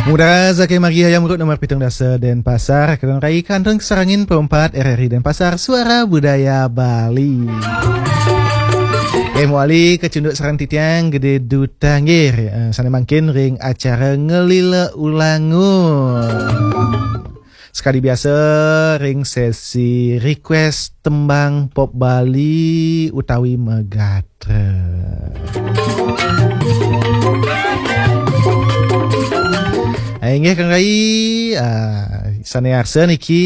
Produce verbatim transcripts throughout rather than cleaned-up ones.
Muda saking margi Hayam Wuruk nomor pitung dasa Denpasar, kadang rai kantun kasarengin empat R R I Denpasar, Suara Budaya Bali. Eh, mawali kacunduk sareng titiang Gede Duta nggih, eh, sane mangkin ring acara Ngelila Ulangun. Sekadi biasa ring sesi request tembang pop Bali utawi megatra. Ah, inggih Kang Rai, ah, sane arsa niki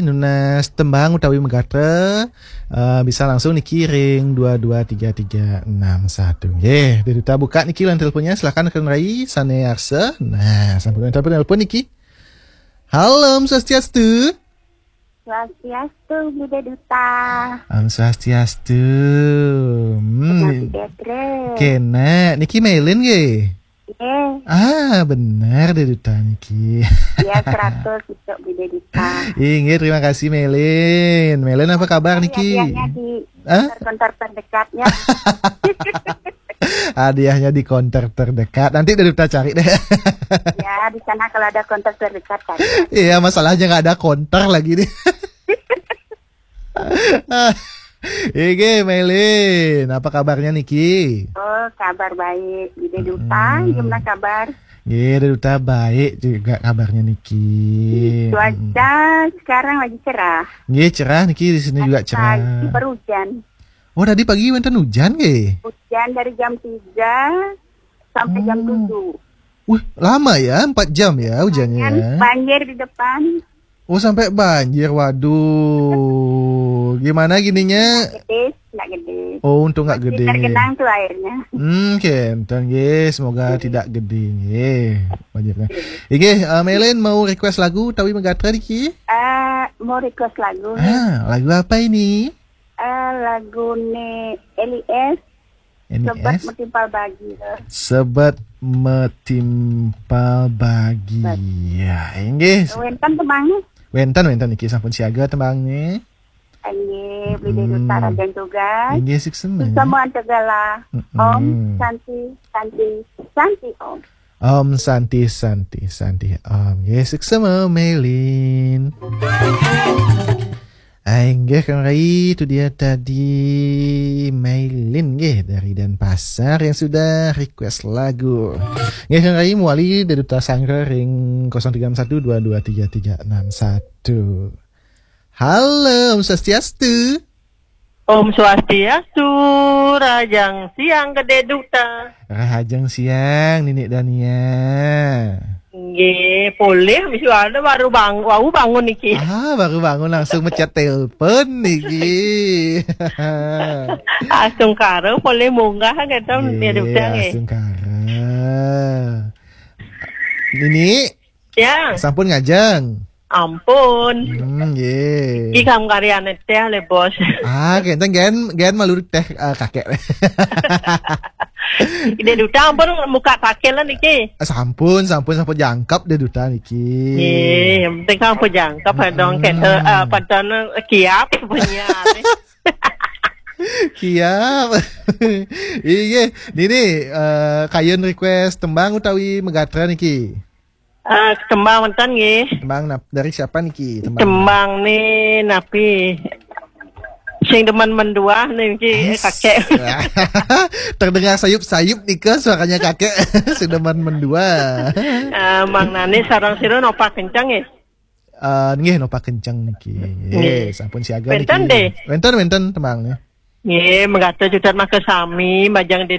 nunas tembang utawi megatra, ah, bisa langsung niki ring dua dua tiga tiga enam satu. Nggih, Gede Duta buka niki line teleponnya, silakan Kang Rai sane arsa. Nah, sampun telepon, telepon niki. Halo, Om Swastiastu. Swastiastu, Gede Duta. Om Swastiastu. Hmm, Petra. Kena, niki Melin nggih? Nggih. Ah, bener Gede Duta niki. Ya, seratus untuk Gede Duta. Inggih, terima kasih Melin. Melin, apa kabar niki? Hadiahnya di Hah? Konter terdekatnya. Hadiahnya di konter terdekat. Nanti Gede Duta cari deh. Ya, di sana kalau ada konter terdekat kan. Iya, masalahnya nggak ada konter lagi nih. Inggih, Melin, apa kabarnya niki? Oh, kabar baik. Gede Duta, mm-mm, gimana kabar? Nggih, Gede Duta baik juga kabarnya niki. Cuaca sekarang lagi cerah. Nggih, cerah niki, di sini juga cerah. Pagi baru hujan. Oh, tadi pagi wenten hujan nggih? Hujan dari jam tiga sampai jam tujuh. Wih, lama ya, empat jam ya hujannya. Banjir di depan. Oh, sampai banjir, waduh. Gimana gininya? Gede, nggak gede. Oh, untung nggak gede. Tergenang tuh airnya. Hmm, kenten nggih, semoga tidak gede nggih banjirnya. Inggih, eh, Melin mau request lagu utawi megatra niki? Eh, mau request lagu nih. Ah, lagu apa ini? Eh, lagu nih Eli S. Ini Sebet S. Metimpal bagi. Sebet metimpal bagi. Ya, inggih. Wenten tembangnya? Wenten, wenten niki sampun siaga tembangnya. Inggih, Gede Duta, mm-mm, Raden Tugas. Inggih, suksma. Suksma Antegala. Mm-mm. Om Santi, Santi, Santi Om. Om Santi, Santi, Santi Om. Nggih, suksma Melin. Ai, nggih, Kang Rai, itu dia tadi Mailin, nggih, dari Denpasar yang sudah request lagu. Nggih, Kang Rai, mawali Gede Duta sanggra ring kosong tiga enam satu dua dua tiga tiga enam satu. Halo, Om Swastiastu. Om Swastiastu, rahajeng siang Gede Duta. Rahajeng siang, Nini Dania. Nggih, polih, wis ada baru bang-, wau bangun niki. Ah, baru bangun langsung mecet telepon niki. Astungkara, polih munggah, kata. Nggih, Gede Duta, nggih. Astungkara. Nini? Ya. Sampun ngajeng? Ampun. Hmm, nggih. Iki kam karyane teh le, Bos. Ah, kenten gen, gen malu teh, eh, kakek. Gede Duta ampun muka kakek lah niki. Ah, sampun, sampun, sampun jangkep Gede Duta niki. Nggih, yang penting kan ampun jangkep, hmm, dong, kenten, eh, padahal kiap punya. Kiap. Iya, Nini, eh, kayun request tembang utawi megatra niki? Eh, tembang wenten nggih. Tembang nap-, dari siapa niki? Tembang. Tembang nih napi? Sing demen menduah niki, eh, kakek. Terdengar sayup-sayup nika suaranya kakek. Sing demen menduah. Eh, Mang Nani sareng sira nopak kenceng nggih? Eh, nggih, nopak kenceng niki. Nggih. Nggih, sampun siaga niki. Wenten deh. Wenten, wenten tembang nih. Nggih, megatra jutat maka sami, majeng Gede